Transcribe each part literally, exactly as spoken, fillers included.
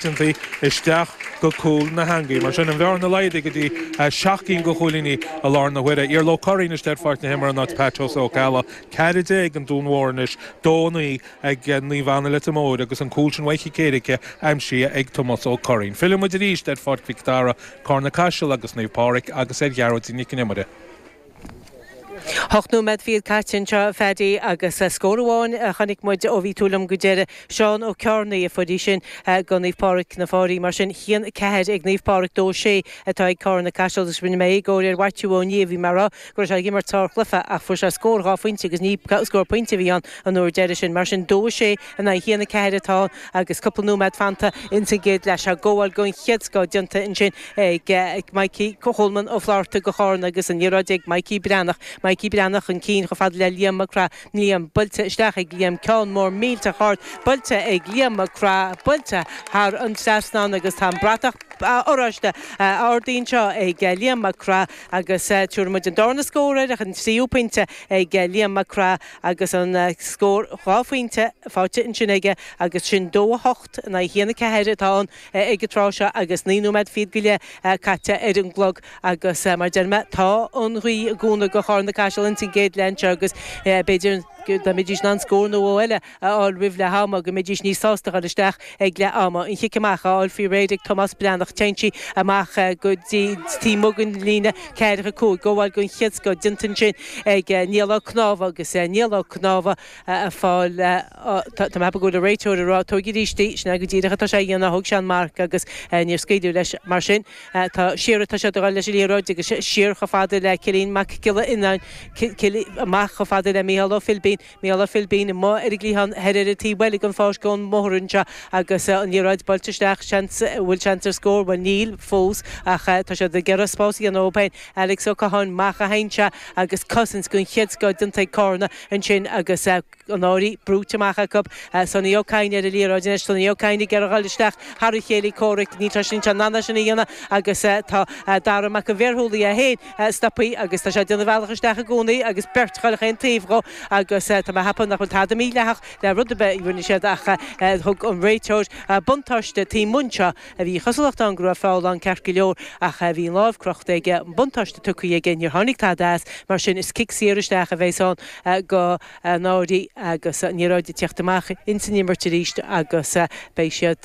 Isteach go cúl na heangaí. Mar sin an bhearna laghdaithe go dtí seacht gcinn de chúilíní i lár na huaire. Iarla Ó Curraoin istigh ar pháirc na himeartha in áit Pat Ó Ceallaigh. Ceathair déag an Dún Mhór anois, dó naoi ag Naomh Anna Leitir Móir agus an cúl sin uaidh chic éirice aimsithe ag Tomás Ó Curraoin. Filleann muid arís ar Pháirc Mhic Dara, Carna Caiseal agus Naomh Pádraig agus ar Ghearóidín Nic an Iomaire. Ocht nóiméad fichead caite anseo, a Phaddy, agus scór amháin a chonaic muid ó bhí tú liom go deireadh. Seán Ó Cearnaigh a fuair í sin go Naomh Pádraig na Fáirí. Mar sin, haon a ceathair ag Naomh Pádraig, dó sé atá ag Carna Caiseal agus rinne mé éagóir ar Mhaitiú Ó Nia, bhí mé ag rá go raibh sé ag imirt sárchluiche ach fuair sé scór dhá phointe agus ní scór pointe a bhí ann an uair deiridh sin. Mar sin, dó a sé in aghaidh haon a ceathair atá ann agus cúpla nóiméad fanta ins an gcéad leath. Sea, gabháil den chéad scoth déanta ansin ag Mikey Coleman Ó Flatharta go Charna agus an liathróid ag Mikey Breathnach. Mikey Breathnach chun cinn chomh fada le Liam Mac Craith. Liam buailte isteach ag Liam, ceann mór millteach ard buailte ag Liam Mac Craith, buailte thar an trasnán agus tá an bratach oráiste ardaithe anseo ag Liam Mac Craith agus tabharfaidh muid an darna scór air ach an tríú pointe ag Liam Mac Craith agus an scór dhá phointe faighte ansin aige agus sin dó a hocht in aghaidh haon a ceathair atá ann ag an tráth seo agus naoi nóiméad fichead go leith caite ar an gclog agus mar deir mé tá an ghaoth i gcúnamh go Charna Caiseal ins an gcéad leath anseo agus b'fhéidir dá mbeidís in ann scór nó dhó eile a fháil roimh leath ama go mbeidís níos sásta dhul isteach ag leath ama. An chic amach á fháil faoi réir ag Tomás Breathnach. Téann sí amach go dtí taobh amuigh den líne ceathracha cúig. Gabháil den chéad scoth déanta ansin ag Niall Ó Cnámha agus Niall Ó Cnámha ag fáil tá mé ag ceapadh go bhfuil an réiteoir ag rá tóig arís í, sin é go díreach atá sé a dhéanamh, thóg sé an marc agus níor scaoileadh leis mar sin. Tá siar atá siad ag dul leis an liathróid agus siar chomh fada le Cillian Mac Giolla Fhionnáin, amach chomh fada le Mícheál Ó Philbín, Mícheál Ó Philbín amuigh ar an gcliathán thoir ar an taobh eile den pháirc ón mbóthar anseo agus an liathróid buailte isteach, seans, bhfuil seans ar scór? Bhuel níl fós ach tá siad ag iarraidh spás a dhéanamh dóibh féin. Alex Ó Catháin amach a théann sé agus cosaint den chéad scoth déanta ag Cárna ansin agus an Fháirí brúite amach acu. Sonny Ó Cadhain ar an liathróid anois. Sonny Ó Cadhain ag iarraidh a dhul isteach thar a chéilí comhraic. Níl sé sin in ann é sin a dhéanamh agus tá Dara Mac an Bhéarshúlaigh é féin stoptha agus tá sé ag déanamh a bhealach isteach i gcónaí agus beirt ag dul chaon taobh dhó agus tá mé ag ceapadh nach bhfuil tada mídhleathach le rud ar bith a rinne siad ach thug an réiteoir buntáiste taobh amuigh anseo. Bhí cosúlacht ann go raibh feall ann ceart go leor ach bhí an lámh crochta aige, an buntáiste tugtha aige, níor tháinig tada as, mar sin is cic saor isteach a bheas ann go an Fháirí agus an liathróid ag tíocht amach ins an imirt arís agus beidh siad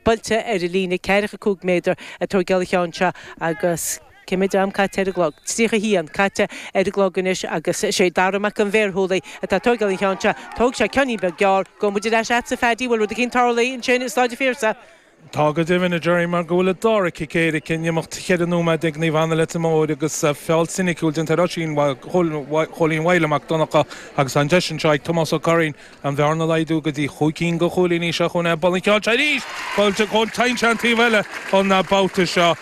buailte ar an líne ceathracha cúig méadar ag tóigeáil an cheann seo agus cé mhéad am caite ar an gclog? tríocha a haon caite ar an gclog anois agus is é Dara Mac an Bhéarshúlaigh atá ag tóigeáil an cheann seo. Thóg sé ceannín beag gearr. Gabhfaidh muid ar ais agatsa a Phaddy, bhfuil rud eicínt tarlaithe ansin i Staid an Phiarsaigh? Tá go deimhin, a Gerry, mar go bhfuil an dara cic éirice in imeacht cheithre nóiméad ag Naomh Anna Leitir Móir agus feall soiniciúil déanta ar Oisín Chóilín Mhaidhle Mac Donncha agus tá an deis anseo ag Tomás Ó Curraoin an bhearna a laghdú go dtí chúig cinn de chúilíní. Seo chugainn é, bualadh an ceann seo arís! Buailte chun cinn sé an taobh eile an babhta seo.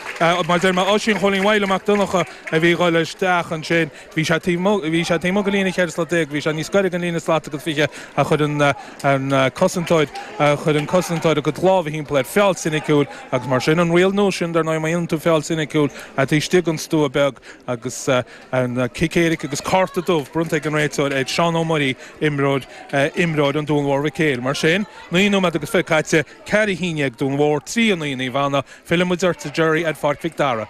Mar a deir mé, Oisín Chóilín Mhaidhle Mac Donncha a bhí ag dul isteach ansin. Bhí sé taobh amuigh, bhí sé taobh amuigh den líne cheithre slat déag, bhí sé níos gaire den líne slat agus fiche ach chuir an an cosantóir, chuir an cosantóir a chuid lámha thimpeall air. Feall soiniciúil agus mar sin an riail nua sin, dar ndóigh, má dhéanann tú feall soiniciúil taobh istigh den stua beag agus an cic éirice agus cárta dubh bronnta ag an réiteoir ar Seán Ó Muirí, imreoir, imreoir an Dúin Mhóir Mhic Éil. Mar sin, naoi nóiméad agus fiche caite, ceathair a haon déag Dún Mhór, trí a naoi Naomh Anna. Filleann muid ort, a Gerry, ar Pháirc Mhic Dara.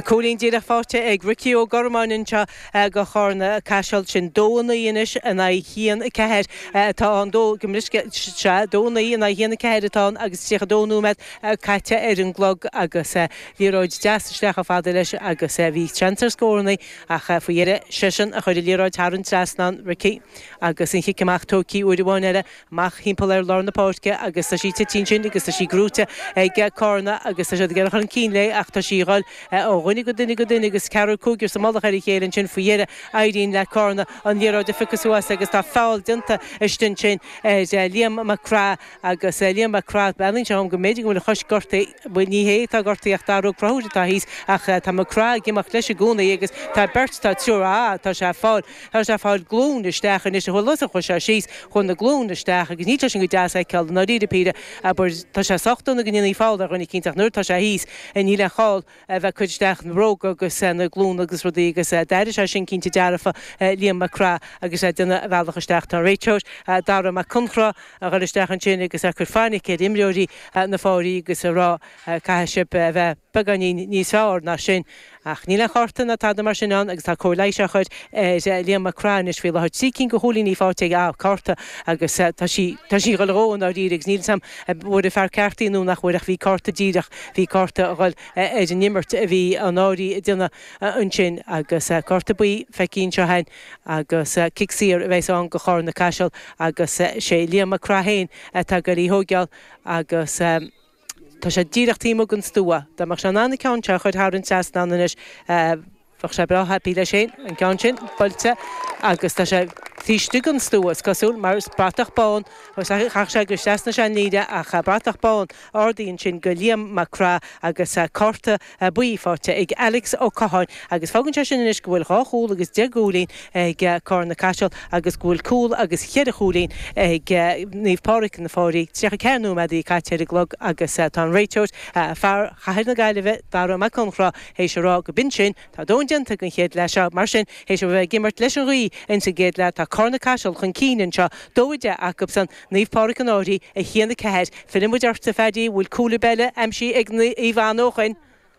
Cúilín díreach faighte ag Ricí Ó Gormáin anseo go Charna Caiseal. Sin dó a naoi anois in aghaidh haon a ceathair atá ann. Dó, go mbriseadh, sea, dó a naoi in aghaidh haon a ceathair atá ann agus tríocha dó nóiméad caite ar an gclog agus liathróid deas isteach chomh fada leis agus bhí seans ar scórannaí ach faoi dheireadh seisean a chuir an liathróid thar an trasnán, Ricí, agus an chic amach tógtha uair amháin eile. Amach thimpeall ar lár na páirce agus tá sí tite ansin agus tá sí gnóite ag Cárna agus tá siad ag iarraidh chun cinn léi ach tá sí a dhul ó dhuine go duine go duine agus ceathrar cúigear sa mullach ar a chéile ansin faoi dheireadh éiríonn le Cárna an liathróid a phiocadh suas agus tá feall déanta istigh ansin ar Liam Mac Craith agus Liam Mac Craith breathnaíonn sé dhom go mb'fhéidir go bhfuil a chois gortaithe, bhuel ní hé atá gortaithe ach Dara Ó Conchúir atá thíos ach tá Mac Craith ag imeacht leis i gcónaí agus tá beirt, tá triúr, ah tá sé ag fáil, tá sé ag fáil glún isteach anois, a bhfuil fhios chuaigh sé síos. Chuaigh na glúine isteach agus níl sé sin go deas a fheiceáil i ndáiríre píre, abair, tá sé sách dona go ndéanfaí feall ar dhuine eicínt ach nuair atá sé thíos níl aon chall a bheith ag cur isteach isteach na bróga agus na glúine agus rudaí agus d'airigh sé sin cinnte dearfa Liam Mac Craith agus é ag déanamh a bhealach isteach. Tá an réiteoir Dara Mac Conchra a dhul isteach ansin agus ag cur fainic ar imreoirí na Fáirí agus a rá caithfidh sibh a bheith beagáinín níos fearr ná sin. Ach níl aon chárta ná tada mar sin ann agus tá cóir leighis á chur ar Liam Mac Craith anois faoi láthair. Trí cinn de chúilíní faighte ag cárta agus tá sí tá sí ag dul dhó i ndáiríre agus níl 'fhios a'm an bhfuair an fear ceart í nó nach bhfuair ach bhí cárta díreach, bhí cárta a dhul ar an imirt a bhí an Fháirí ag déanamh ansin agus cárta buí feicthe anseo againn agus cic saor a bheas ann go Charna Caiseal agus sé Liam Mac Craith féin atá ag goil í thóigeáil agus tá sé díreach taobh amuigh den stua. Dá mbeadh sé in ann an ceann seo a chur thar an trasnán anois bheadh sé breá happy leis féin, an ceann sin buailte agus tá sé taobh istigh den stua is cosúil mar is bratach bán chaith sé go trasna sé an líne ach bratach bán ardaithe ansin go Liam Mac Craith agus cárta buí faighte ag Alex Ó Catháin agus fágann sé sin anois go bhfuil dhá chúl agus deich gcúilín ag Carna Caiseal agus go bhfuil cúl agus cheithre chúilín ag Naomh Pádraig na Fáirí. tríocha ceathair nóiméad caite ar an gclog agus tá an réiteoir, fear Chathair na Gaillimhe, Dara Mac Conchra, théis a rá go b'in sin, tá a ndóthain déanta don chéad leath seo. Mar sin, théis a bheith ag imirt leis an ghaoth ins an gcéad leath, tá Carna Caiseal chun cinn anseo, dó a deich acubsan, Naomh Pádraig an Fhairche, a haon a ceathair. Filleann muid ort, a Phaddy, bhfuil cúl ar bith eile aimsithe ag Naomh Anna ó shoin?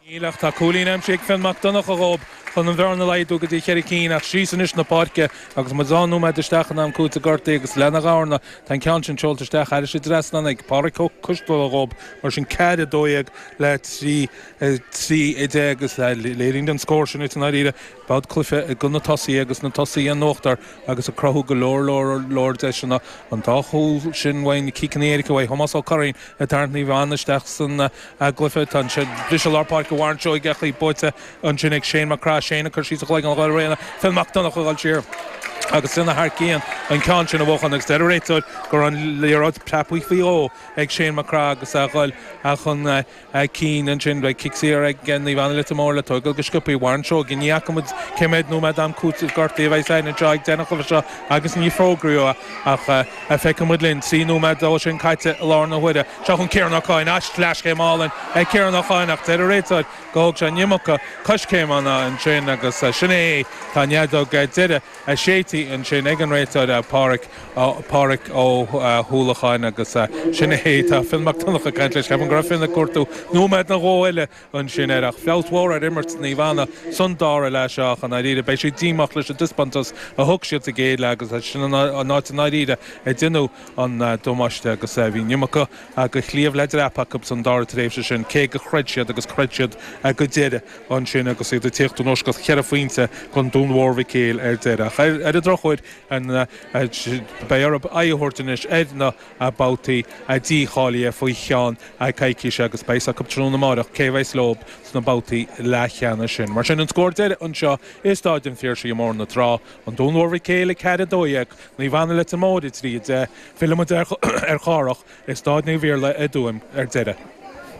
Níl ach tá cúilín aimsithe ag Fionn Mac Donncha dhób chun an bhearna a laghdú go dtí cheithre cinn ach síos anois na páirce agus muid dhá nóiméad isteach in am cúitimh gortaithe agus lena Gharna tá an ceann sin seolta isteach thairis an dtrasnán ag Pádraig Ó Coistealbha dhób mar sin ceathair a dó dhéag le trí trí a deich agus léiríonn an scór sin i ndáiríre beidh cluiche ag na tosaithe agus na tosaithe in uachtar agus ag cruthú go leor leor leor deiseanna an dá chúl sin uaidh na ciceanna éirice uaidh Thomás Ó Curraoin ag tarraingt Naomh Anna isteach san gcluiche. Tá an briseadh lár páirce Warren Seoighe ach í buaite ansin ag Shane Mac Craith. Shane ag cur síos a chloigeann dhá réanna. Phil Mac Donncha ag dul siar agus lena thar cionn an ceann sin a bhuachan agus deir an réiteoir go raibh an liathróid preabtha faoi dhó ag Shane Mac Craith agus a dhul chun cinn ansin. Beidh cic saor ag Naomh Anna Leitir Móir le tógáil go sciobtha. Warren Seoighe, ní fhaca muid cé mhéad nóiméad am cúitimh gortaithe a bheidh againn anseo ag deireadh an chluiche seo agus ní fógraíodh é ach feicfidh muid linn. Trí nóiméad ó sin caite i láthair na huaire. Seo chun Ciarán Ó Cadhain. Leaschéim álainn ag Ciarán Ó Cadhain ach deir an réiteoir gur thóg sé an iomarca coiscéimeanna ansin agus sin é. Tá an fheadóg deiridh séidte ansin ag an réiteoir Páraic Páraic Ó hUallacháin agus sin é. Tá Fionn Mac Donncha ag caint leis. Ceapaim go raibh Fionn ag cuartú nóiméad nó dhó eile ansin air ach feabhas mhór ar imirt Naomh Anna san dara leath seo ach i ndáiríre beidh siad díomách leis an dtaispeántas a thug siad sa gcéad leath agus sin an áit i ndáiríre a deineadh an damáiste agus bhí an iomarca de chliabh le dreapadh acu san dara tréimhse sin cé gur chreid siad agus chreid siad go deireadh ansin agus iad ag tíocht anuas go cheithre phointe don Dún Mhór Mhic Éil ar deireadh. Ach ar an drochuair beidh orthu aghaidh a thabhairt anois ar na babhtaí dícháilithe faoi cheann coicíse agus beidh a fhios acu tráthnóna amárach cé a bheas leo sna babhtaí leathcheannais sin. Mar sin an scór deiridh anseo i Stáid an Phiarsaigh i mBóthar na Trá, An Dún Mhór Mhic Éil a ceathair a dó dhéag, Naomh Anna Leitir Móir a trí a deich. Fillfidh muid ar Chárthach i Stáid Naomh Iarlaith i dTuaim ar deireadh.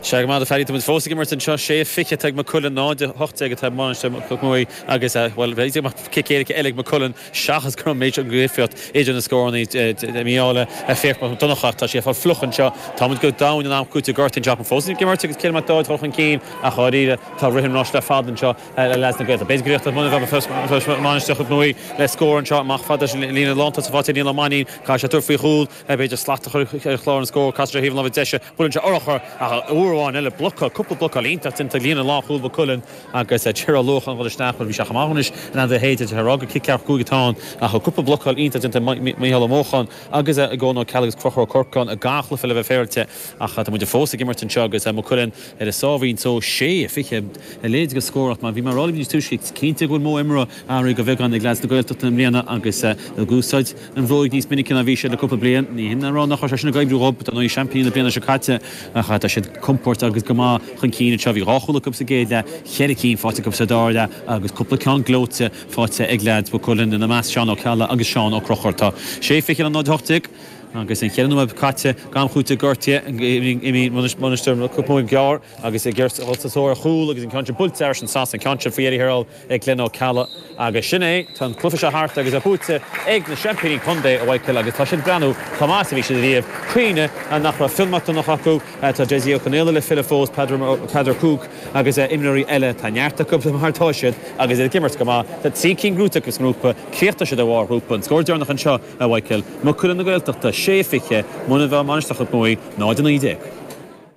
Sea, go maith, a Phaddy, tá muid fós ag imirt anseo. Sé fiche atá ag Maigh Cuilinn, náid a hocht déag atá ag Mainistir Chnoc Muaidhe agus, bhuel, b'fhéidir go mbeadh cic éirice eile ag Maigh Cuilinn seachas go raibh an méid seo difríocht idir na scóranna. Mícheál Fiach Mac Donncha, tá sé ag fáil fliuch anseo. Tá muid go domhain in am cúitimh gortaithe anseo ach fós ag imirt agus Cill Mac Dáid dul chun cinn ach dháiríre tá rith an rois le fada anseo le leaids na Gaeltachta. B'fhéidir go bhféadfadh Mainistir Chnoc Muaidhe le scór anseo amach fada leis an líne lántosaigh faighte ag Niall Ó Mainnín. Caithfidh sé tabhairt faoi chúl. B'fhéidir slat a chur ar chlár an scóir. Casfaidh sé ar thaobh na láimhe deise. Buaileann sé urchar ach uair amháin eile blocáil, cúpla blocáil iontach déanta ag líne lánchúil Mhaigh Cuilinn agus Tiro Luach an dhul isteach. Bhuel, bhí sé chomh maith anois in ainm a shéideadh a rá gur cic ceathracha cúig atá ann ach cúpla blocáil iontach déanta ag Mícheál Ó Mócháin agus ag Eoin Ó Ceallaigh agus Conchúr Ó Corcáin i gach cluiche le bheith féaráilte. Ach tá muid fós ag imirt anseo agus Maigh Cuilinn ar a sáimhín só, sé fiche a leithéid de scór ach mar bhí mé a rá libh níos túisce, is cinnte go bhfuil modh imeartha athraithe de bheagán ag leaids na Gaeltachta i mbliana agus ag úsáid an bhróig níos minice ná bhí siad le cúpla bliain. Ní hin a rá nach raibh sé sin ag oibriú dhób, dar ndóigh seaimpíní na bliana seo caite, ach tá siad compordach agus go maith chun cinn anseo. Bhí dhá chúl acu sa gcéad leath, cheithre cinn faighte acu sa dara leath agus cúpla ceann gleoite faighte ag leaids Mhaigh Cuilinn, ina measc Seán Ó Ceallaigh agus Seán Ó Conchúir. Tá sé fiche le náid a hocht déag. Agus an ceithre nóiméad caite gan chúiteamh gortaithe, imíonn Mainistir Chnoc Muaidhe gearr agus ag iarraidh dul sa tóir ar chúl agus an ceann sin buailte thar an trasnán, an ceann sin faoi dheireadh thiar thall ag Glenn Ó Ceallaigh agus sin é, tá an cluiche seo thart agus é buaite ag na seaimpíní contae, a Mhichael, agus tá siad ag breathnú chomh maith is a bhí siad ariamh. Cuimhnigh nach raibh Fionn Mac Donncha acu, tá Dessie Ó Conaola le filleadh fós, Peadar Cooke agus imreoirí eile, tá neart acu mar atá siad agus iad ag imirt go maith. Tá trí cinn gnóthaithe acu sa ngrúpa, chríochnaigh siad ar bharr an ghrúpa. An scór deireanach anseo, a Mhichael, Maigh Cuilinn na Gaeltachta, sé fiche, Mainistir Chnoc Muaidhe, náid a naoi déag.